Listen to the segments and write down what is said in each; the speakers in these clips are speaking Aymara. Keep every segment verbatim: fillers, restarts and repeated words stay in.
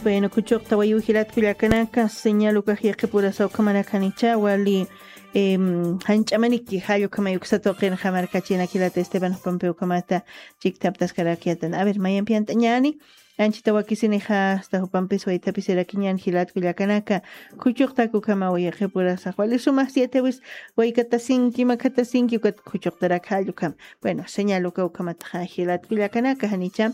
Bueno, kuchuqta wayuw jilat kullakanaka, señal ukax yaqipurasa ukhamanakanicha, wali, em, janch'amaniki jall ukhamay uksata uqinxa markachinak jilat Esteban jupampi ukhamata chiktaptaskarakyatan. A ver, mayampi ant'añani, anchita wakisinixa, hasta jupampis waythapisirakiñan jilat kullakanaka, kuchuqtak ukhamaw yaqipurasa, wali sumax siete wis, waykatasinki, makatasinki, ukat kuchuqtarak jall ukham. Bueno, señal uka ukhamataxa jilat kullakanaka, janicha.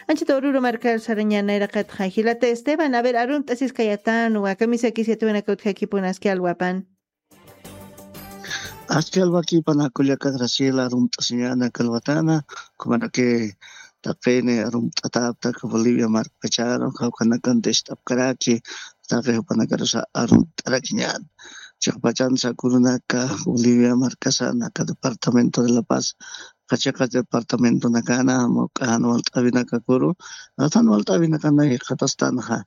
Anchita ururu markar sarañan nayraqataxa jilata Esteban, a ver, arunt'asiskayatan, wa kamisakis yatiwanaka utjakipun aski alwapan. Aski alwakipan akullaka Graciela, arunt'asiñana kalwatana, kumanaki taqini arunt'ataptak Bolivia markacharu, kawkanakan tist'apkaraki, taqi jupanakarusa arunt'arakiñan. Chiqpachansa kurunaka Bolivia markasa naka departamento de La Paz, qachiqa departamentonakana, mawk'ajan walt'awinakakuru, atan walt'awinakana jikxatastanxa,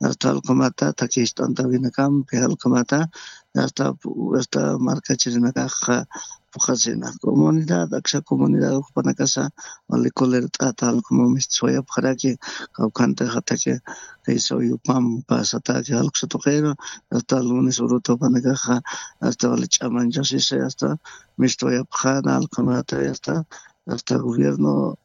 hasta alqumata, takist'antawinakampi alqumata, hasta, hasta markachirinakaxa puqasina. Comunidad, aksa comunidad jupanakasa, wali colert'ata alquma mistiswayapxaraki, kawkhantaxa taki, kaysaw yupam pasataki alqsa tuqiru, hasta lunes uruta jupanakaxa, hasta wali ch'amanchasisa, hasta mistwayapxana alqumata, hasta, hasta gobierno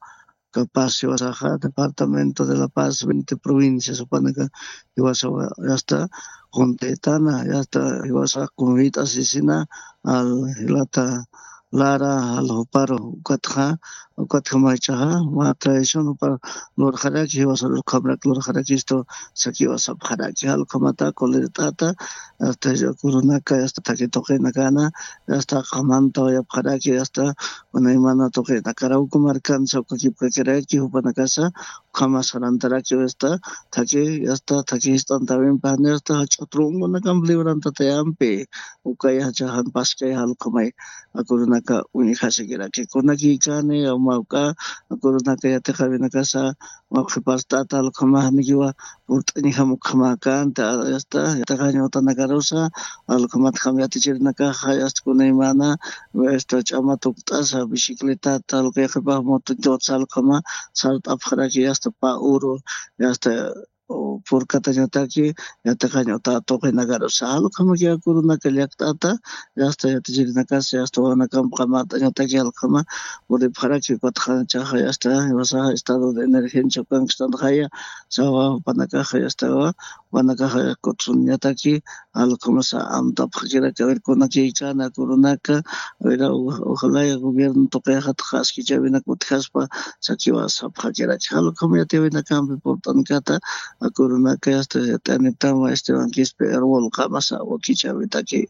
capaz jiwasaxa, departamento de La Paz, veinte provincias jupanaka, jiwasa, hasta Contetana, hasta jiwasa Convita, Sisina, al jilata Lara, al Juparo, ukatxa, ukatxa maychaxa, ma tradición jupar lurxaraki, jiwasa lurxamrak lurxarakistu, sakiwasapxaraki, alqumata, colert'ata, hasta kurunaka, hasta taki tuqinakana, hasta qamanta wayapxaraki, hasta kunaymana tuqinakaraw uka markansa ukakipkakiraki, jupanakasa, ukhama sarantaraki, hasta taki, hasta taki jist'antawimpa, hasta ch'utrunkunakamp librantata yampi, ukaya chajan paskay alqumay, akurunaka uñjasikiraki, kunakikani, mawk'a, akurunaka yatiqawinakasa, mawk'ipastata alqumajnikiwa, purt'añjam ukhamäkänti, hasta yatiqañ utanakarusa, alqumatjam yatichirinakaxa, hasta kunaymana, hasta ch'ama tukt'asa, bicicletata, alquyaqipaj motoñtutsa alquma, sart'apxaraki, hasta pä uru, hasta, o, purkatañataki, yatiqañ uta tuqinakarusa, alqumaki akurunaka llakt'ata, hasta yatichirinakasa, hasta wawanakamp qamät'añataki, alquma, puripxaraki, ukatxa chaxa, hasta, jiwasaxa, estado de emergencia ukankstanxaya, sawa, jupanakaxa, hasta, jupanakaxa kutsuñataki, alqumasa amtapxakiraki, a ver, kunakikana, kurunaka, a ver, o-, ojalá gobierno tuqixatxa askichawinaka utjaspa, sakiwasapxakiraki, alqum yatiwinakampi purt'ankata, akurunaka, hasta, yat'anitama, Esteban Quispe, árbol qamasa, wakichawitaki.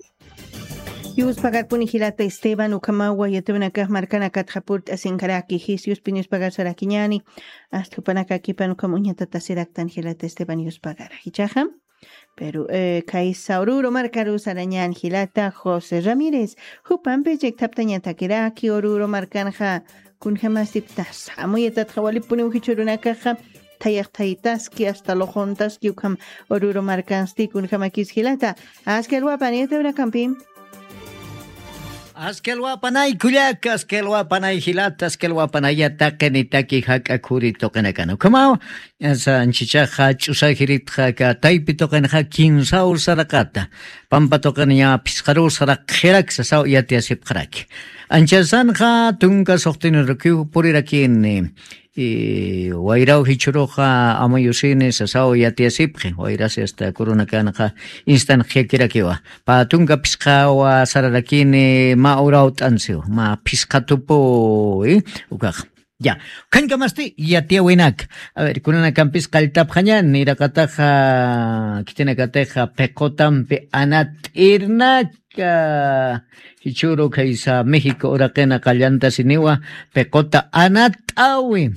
Yuspagarpuni jilata Esteban, ukhamawa yatiwinakax markanakatxa purt'asinkaraki, jis yuspin yuspagar sarakiñani, hasta jupanakakipan ukham uñatatasiraktan jilata Esteban yuspagara. Jichaxa, pero, eh, kaysa Oruro markaru sarañan jilata José Ramírez, jupampi chikthaptañatakiraki Oruro markanxa, kunjamasiptas, amuyatatxa walipuniw jichhürunakaxa, thayax thaytaski, hasta luquntaski, ukham Oruro markansti, kunjamakis jilata, aski alwapan yatiwinakampi. Aski alwapanay kullaka, aski alwapanay jilata, aski alwapanaya taqinitaki jak'a khuri tuqinakana. Ukhamaw, asa anchichaxa ch'usajiritxa aka taypi tuqinxa kinsaw saraqata. Pampa tuqin ña phisqaruw saraqxirak sasaw yatiyasipxaraki. Anchasanxa tunka suxtinirukiw purirakini. Y wayraw jichhuruxa amuyusini sasaw yatiyasipxi, wayrasi hasta kurunakanxa instanxyakirakiwa. Pä tunka phisqawa sararakini mä urawt'ansiw, mä phisqa tupuy, ukax. Ya, ukhañkamasti yatiyäwinak. A ver, kunanakampis qalltapxañan, iraqataxa, khitinakatixa, piqutampi anat'irnaka, jichhüru khaysa México uraqina qallantasiniwa, piquta anat'äwi.